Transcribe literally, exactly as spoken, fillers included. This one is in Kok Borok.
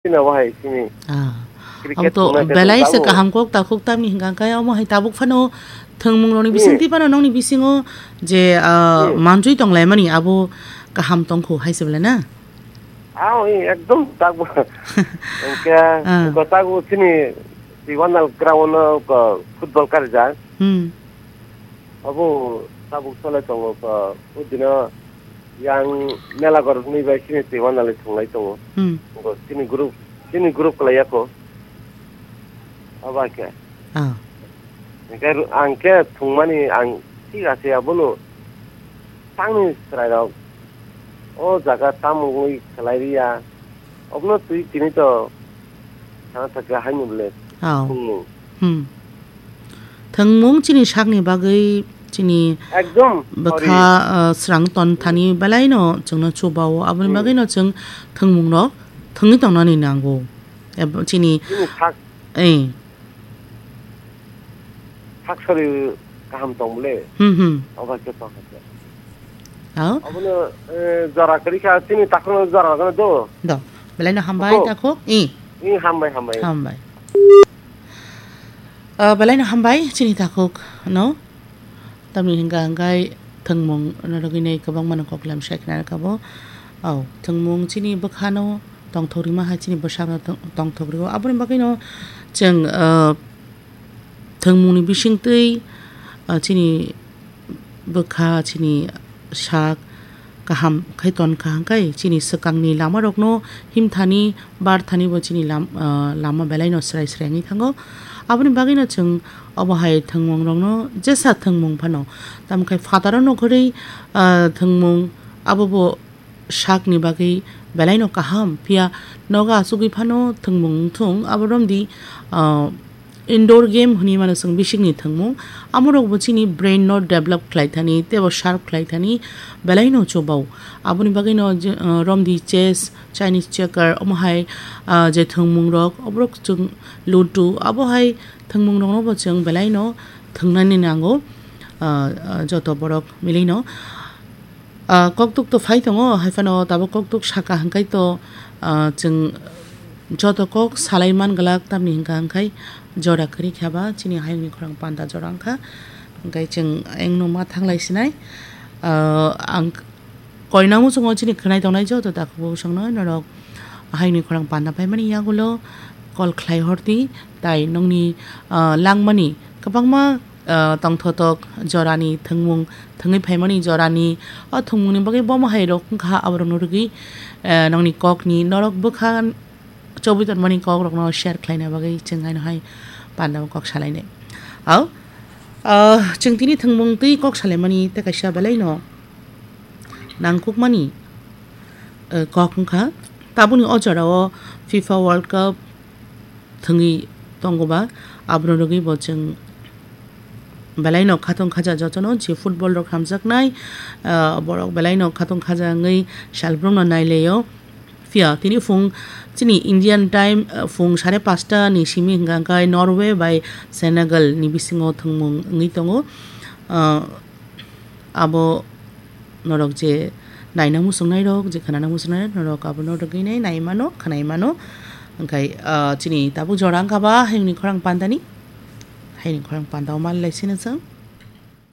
Chini obo hai chini Ah. Cricket Abo to thwngna khe belai se tabuk. Kaham kok takhuk tamni hwnkha khe omo hai tabuk phano thwngmung rokni Hmm. bisingtwi phano nokni bisingo je, ah, Hmm. manjui tonglaimani abo kaham tongkhu hai se belai na? Ah, oi, ekdom tabuk. Hwnkhe Ah. hwnkhe tabuk chini Tiwanal ground o, ah, football karijak. Hmm. Abo tabuk cholai tongo, ah, o dino yang mela goroknwi bai chini twi wanalwi thwnglai tongo. Hmm. Bo chini group, chini group kwlai ya kho. Abo khe. Ah. Hwnkhe ru-, ang khe thwngmani ang thik ase abono tangni chwrairok o jaga tamo wngwi khlai rwya. Obono twi tini to sana thaka haino bole. Oh. Thwngmung. Hmm. Thwngmung chini sakni bagwi chini Ekdom, bwkha, sorry. Uh, srang ton thani belaino chwngno chubao. Aboni Hmm. bagwino chwng thwngmungrok thwngwi tongnani nango. Ebo chini Chini sak Eh. Sak sori kaham tong bole. Hmm, hmm. Obo khe tong khe. Ao? Abono, eh, jora kwrwi kha, chini takhukno jora rwgano do. Do. Belaino hambai Takhuk. takhuk. I. I hambai, hambai. Hambai. Ah, belaino hambai chini takhuk no. Tamni hwnkha hwnkhe thwngmung norogwi nei kwbangmano koklam sai khna rwkha bo. Ao, thwngmung chini bwkhano tongthok rima hai chini bwsakno tong-, tongthok rwo. Aboni bagwino chwng, ah, thwngmungni bisingtwi, ah, chini bwkha, chini sak kaham khai tonkha, hwnkhe chini swkangni lamarokno himthani, barthani bo chini lam-, ah, lama belaino swrai swrai wngwi thango. Aboni bagwino chwng obo hai thwngmungrokno jesa thwngmung phano, tamo khe phataro nukharwi, ah, thwngmung abo bo sakni bagwi belaino kaham, phiya nogo achugwi phano thwngmung wngthung, abo romdi, ah, indoor game hwnwi mano chwng bisikni thwngmung. Amorokbo chini brain no develop khlai thani teibo sharp khlai thani belaino chubao. Aboni bagwino je, ah, romdi chess, Chinese checker, omo hai, ah, je thwngmungrok, oborok chwng ludo, abo hai thwngmungrokno bo chwng belaino thwngnani nango, ah, ah, joto borok milino. Ah, koktuk to phai tongo, hai phano tabuk koktuk saka hwnkhe to, ah, chwng joto kok salai man glak, tamni hwnkha hwnkhe jora kwrwi kha ba chini hayungni khorang panda jora wngkha, hwnkhe chwng engno ma thanglai sinai. Ah, ang koinang muchungo chini khwnai tongnai joto takhuk bwswkno norok hayungni khorang panda paimani yagulo call khlai hordi, tai nokni, ah, langmani kwbangma, ah, tongthotok jorani thwngmung, thwngwi phaimani jorani o thwngmungni bagwi bomo hai rok wngkha, aborokno rwgwi, ah, nokni kokni norok bwkha chobwi tonmani kokrokno share khlaina bagwi chwng haino hai pandao kok salainai. Ao, ah, chwng tini thwngmung twi kok salaimani tei kaisa belaino nangkukmani, eh, kok wngkha. Tabukni o jorao FIFA World Cup thwngwi tongo ba, abono rwgwi bo chwng belaino khatong khaja jotono je football rok hamjaknai, ah, borok belaino khatong khaja wngwi salbrumno nailaio. Phiya tini phung chini Indian time, ah, phung sare pasta ni simi hwnkha hwnkhe Norway bai Senegal ni bisingo thwngmung wngwi tongo. Ah, abo norok je naina muchungnairok, je khwnana muchungnairok, norok abono rwgwinai naimano, khwnaimano. Hwnkhe, ah, chini tabuk jora wngkha ba hayungni khorang pandani, hayungni khorang pandao manlai sino chwng.